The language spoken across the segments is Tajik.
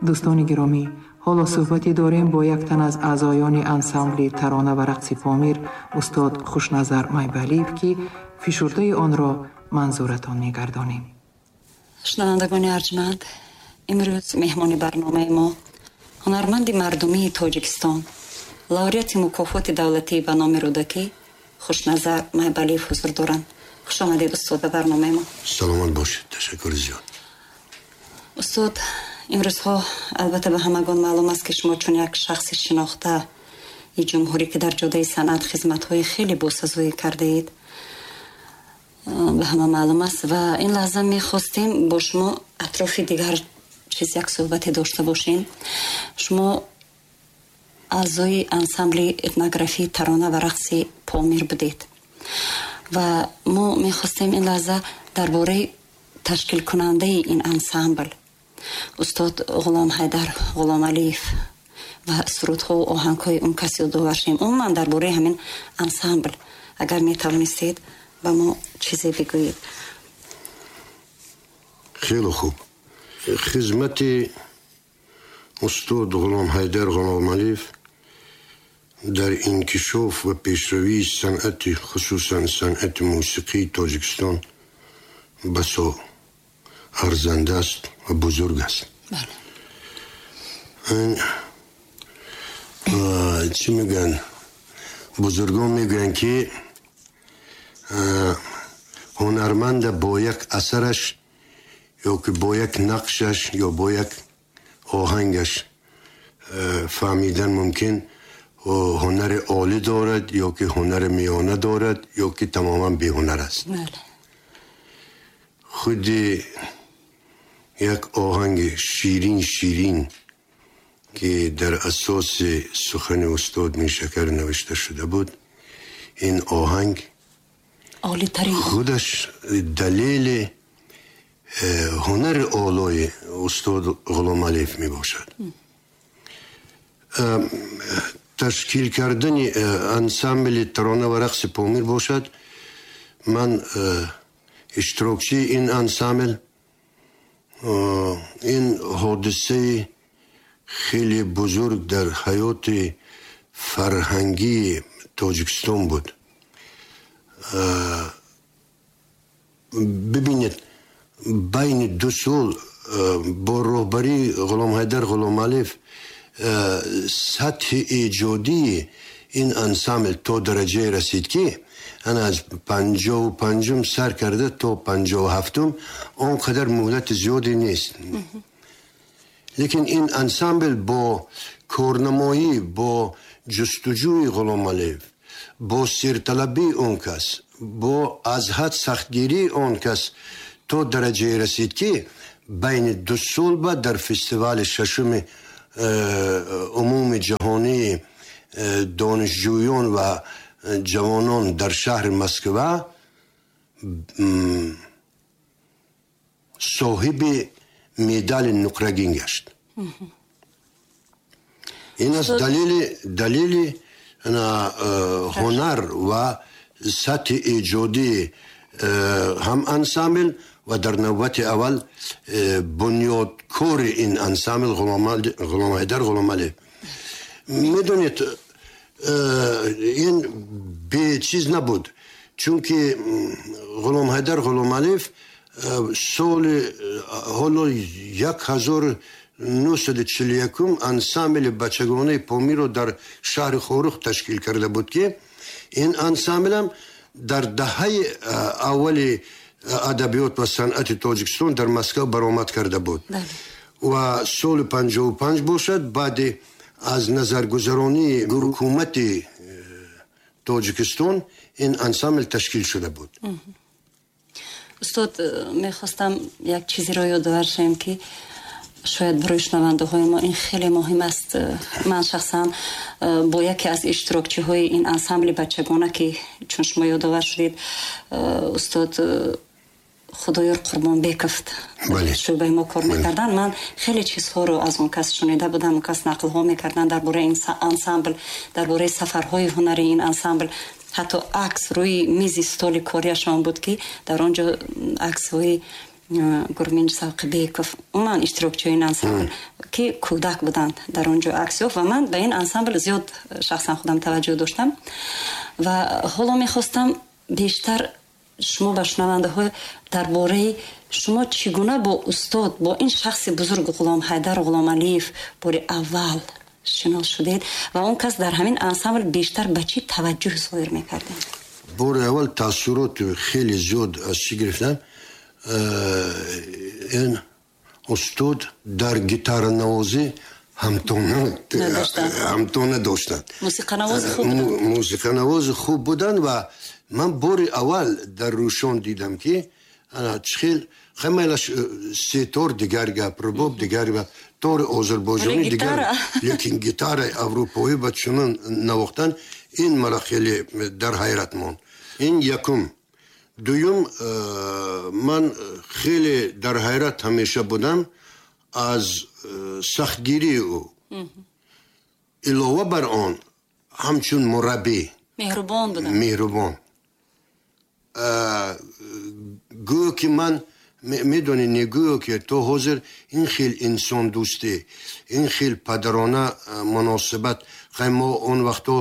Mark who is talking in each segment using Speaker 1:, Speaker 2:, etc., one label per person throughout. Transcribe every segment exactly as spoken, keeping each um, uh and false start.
Speaker 1: Дӯстони гиромӣ, ҳоло суҳбате дорем бо як тан аз аъзоёни ансамбли тарона ва рақси Помир, устод Хушназар Майбалиев, ки фишурдаи онро манзуратон мегардонем.
Speaker 2: Шунавандагони арҷманд, имрӯз меҳмони барномаи мо ҳунарманди мардумии Тоҷикистон, лауреати мукофоти давлатӣ ба номи Рӯдакӣ Хушназар Майбалиев ҳузур доранд. Хуш омадед, устод, ба барномаи мо.
Speaker 3: Саломат бошед, ташаккур зиёд.
Speaker 2: Устод, имрӯзҳо албатта ба ҳамагон маълум аст, ки шумо чун як шахси шинохтаи ҷумҳурӣ, ки дар ҷодаи санъат хизматҳои хеле босазоӣ кардаед, ба ҳама маълум аст ва ин лаҳза мехостем бо шумо атрофи дигар чиз як суҳбате дошта бошем. Шумо аъзои ансамбли этнографии тарона ва рақси Помир будед ва мо мехостем ин лаҳза дар бораи ташкилкунандаи ин ансамбл устод Ғуломҳайдар Ғуломалиев ва сурудҳо ва оҳангҳои он кас ёдовар шем. Умуман дар бораи ҳамин ансамбл агар метавонистед ба мо чизе бигӯед.
Speaker 3: Хеле хуб. Хизмати устод Ғуломҳайдар Ғуломалиев дар инкишоф ва пешравии санъати, хусусан санъати мусиқии Тоҷикистон басо арзанда аст ва бузург аст.
Speaker 2: Бале.
Speaker 3: Чӣ мегӯянд? Бузургон мегӯянд, ки ҳунарманда бо як асараш ё ки бо як нақшаш ё бо як оҳангаш фаҳмидан мумкин ҳунари олӣ дорад ё ки ҳунари миёна дорад ё ки тамоман беҳунар аст.
Speaker 2: Бале.
Speaker 3: Худи як оҳанги ширин ширин ки дар асоси сухани устод Миршакар навишта шуда буд, ин оҳанг
Speaker 2: олитарин
Speaker 3: худаш далели ҳунари олои устод Ғуломалиев мебошад. Ташкил кардани ансамбли тарона ва рақси Помир бошад, ман иштирокчии ин ансамбл, ин ҳодисаи хеле бузург дар ҳаёти фарҳангии Тоҷикистон буд. Бибинед, байни ду сол бо роҳбарии Ғуломҳайдар Ғуломалиев сатҳи эҷодии ин ансамбл то дараҷае расид, ки ана аз панҷоҳу панҷум сар карда то панҷоҳу ҳафтум он қадар муҳлати зиёде нест. Лекин ин ансамбл бо корнамоӣ, бо ҷустуҷӯи Ғуломалиев, бо сирталабии он кас, бо аз ҳад сахтгирии он кас то дараҷае расид, ки байни ду сол ба дар фестивали шашуми умуми ҷаҳонии донишҷӯён ва ҷавонон дар шаҳри Москва соҳиби медали нуқрагин гашт. Ин аст далели далели ҳунар ва сатҳи эҷодии ҳам ансамбл ва дар навбати аввал бунёдкори ин ансамбл Ғуломҳайдар Ғуломалиев. Медонед, ин бечиз набуд, чунки Ғуломҳайдар Ғуломалиев соли ҳоло як ҳазор нӯҳсаду чилу якум ансамбли бачагонаи Помирро дар шаҳри Хоруғ ташкил карда буд, ки ин ансамблам дар даҳаи аввали адабиёт ва санъати Тоҷикистон дар Москва баромад карда буд. Ва соли панҷоҳу панҷ бошад, баъди аз назаргузаронии ҳукумати Тоҷикистон ин ансамбл ташкил шуда буд.
Speaker 2: Устод, мехостам як чизеро ёдовар шавем, ки шояд барои шунавандаҳои мо ин хеле муҳим аст. Ман шахсан бо яке аз иштирокчиҳои ин ансамбли бачагона, ки чун шумо ёдовар шудед, устод Худоёр Қурбонбеков шӯъбаи мо кор мекарданд, ман хеле чизҳоро аз он кас шунида будам. Он кас нақлҳо мекарданд дар бораи ин ансамбл, дар бораи сафарҳои ҳунарии ин ансамбл. Ҳатто акс рӯи мизи столи кориашон буд, ки дар он ҷо аксҳои Гурмин Савқибеков, умуман иштирокчиҳои ин ансамбл ки кӯдак буданд дар он ҷо акс ёфт ва ман ба ин ансамбл зиёд шахсан худам таваҷҷӯҳ доштам ва ҳоло мехостам бештар шумо ба шунавандаҳо дар бораи шумо чӣ гуна бо устод, бо ин шахси бузург Ғуломҳайдар Ғуломалиев бори аввал шинос шудед ва он кас дар ҳамин ансамбл бештар ба чӣ таваҷҷӯҳ зоҳир мекардед?
Speaker 3: Бори аввал таассурот хеле зиёд аз чӣ гирифтам? Ин устод дар гитаранавозӣ ҳамто надоштанд.
Speaker 2: Мусиқанавози хуб буданд.
Speaker 3: Мусиқанавози хуб буданд ва ман бори аввал дар Рӯшон дидам, ки чихел хамайлаш сетор дигар гап, рубоб дигар гап, тори озарбойҷонӣ дигар, лекин гитараи аврупоӣ ба чунон навохтан, ин мара хеле дар ҳайрат монд. Ин якум. Дуюм, ман хеле дар ҳайрат ҳамеша будам аз сахтгирии ӯ. Илова бар он, ҳамчун мураббӣ
Speaker 2: меҳрубон буданд.
Speaker 3: Меҳрубон. Гӯё ки ман медонӣ, не, гӯё ки то ҳозир ин хел инсондӯстӣ, ин хел падарона муносибат, хай мо он вақто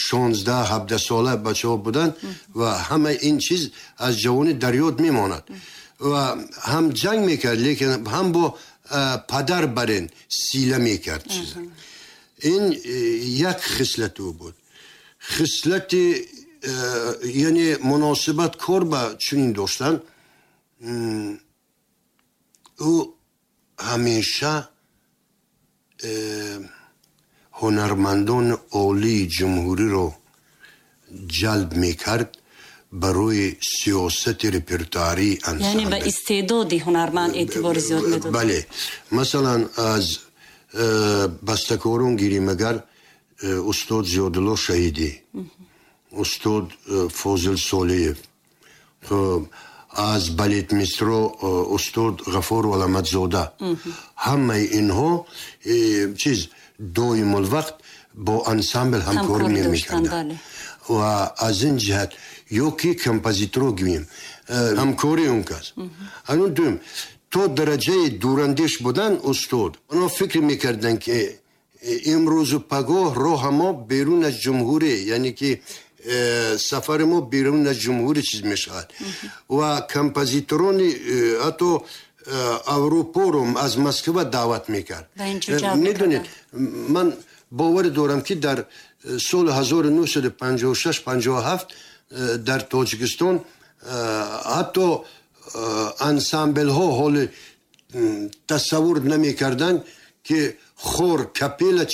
Speaker 3: шонздаҳ ҳабдаҳ сола бачаҳо буданд ва ҳама ин чиз аз ҷавонӣ дар ёд мемонад. Ва ҳам ҷанг мекард, лекин ҳам бо падар барин сила мекард чиза. Ин як хислати ӯ буд. Хислати, яъне муносибат кор ба чунин доштан, ӯ ҳамеша ҳунармандони олии ҷумҳуриро ҷалб мекард барои сиёсати репертуарии ансамбл.
Speaker 2: Яъне ба истеъдоди ҳунарманд эътибори зиёд медод.
Speaker 3: Бале. Масалан, аз бастакорон гирем агар, устод Зиёдулло Шаҳидӣ, устод Фозил Солиев, аз балетмистро устод Ғафур Валамадзода, ҳамаи инҳо чиз доимулвақт бо ансамбл ҳамкорӣ мекарданд. Ва аз ин ҷиҳат ё ки композиторо гӯем, ҳамкории он кас. Анун дуюм, то дараҷаи дурандеш будан устод, онҳо фикр мекарданд, ки имрӯзу пагоҳ роҳа мо берун аз ҷумҳурӣ, яъне ки сафари мо берун аз ҷумҳурӣ чиз мешавад. Ва композиторони ҳатто Аврупоро аз Москва даъват мекард. Медонед, ман боварӣ дорам, ки дар соли ҳазору нӯҳсаду панҷоҳу шаш панҷоҳу ҳафт дар Тоҷикистон ҳатто ансамблҳо ҳоли тасаввур намекарданд, ки хор, капела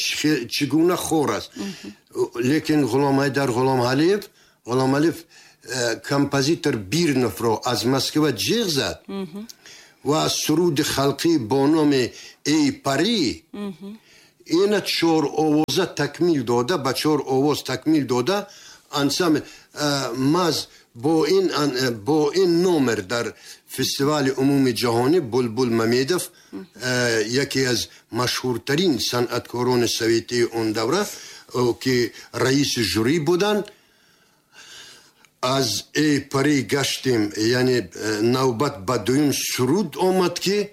Speaker 3: чӣ гуна хор аст. Лекин Ғуломҳайдар Ғуломалиев Ғуломалиев композитор Бирновро аз Москва ҷиғ зад ва суруди халқӣ бо номи «Эй парӣ» ина чор овоза такмил дода, ба чор овоз такмил дода ансамбл маз бо ин бо ин номер дар фестивали умуми ҷаҳонӣ Булбул Мамедов, яке аз машҳуртарин санъаткорони советии он давра, ки раиси жюри буданд, аз «Эй парӣ» гаштем, яъне навбат ба дуюм суруд омад, ки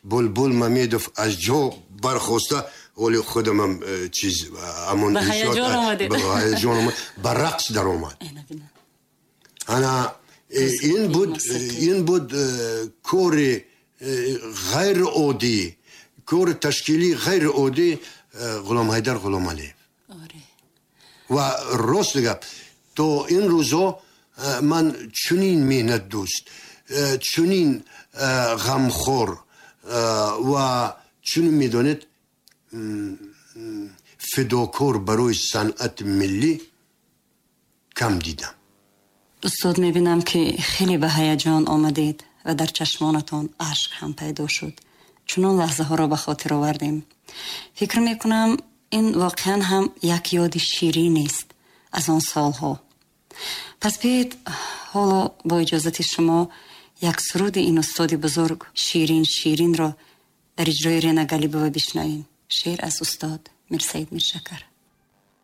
Speaker 3: Булбул Мамедов аз ҷо бархоста, оли худамам чиз ҳамон
Speaker 2: ба ҳаяҷон омадед.
Speaker 3: Ба ҳаяҷон омад, ба рақс даромад. Ана ин буд ин буд кори ғайриоддӣ, кори ташкилии ғайриоддӣ Ғуломҳайдар Ғуломалиев. Ва рост гап, то ин рӯзҳо ман чунин меҳнатдӯст, чунин ғамхор ва чунин, медонед, фидокор барои санъати миллӣ кам дидам.
Speaker 2: Устод, мебинам, ки хеле ба ҳаяҷон омадед ва дар чашмонатон ашк ҳам пайдо шуд. Чунон лаҳзаҳоро ба хотир овардем. Фикр мекунам, ин воқеан ҳам як ёди ширинест аз он солҳо. Пас биёед ҳоло бо иҷозати шумо як суруди ин устоди бузург, «Ширин ширинро» дар иҷрои Рена Галибова бишнавем. Шеър аз устод Мирсаид Миршакар.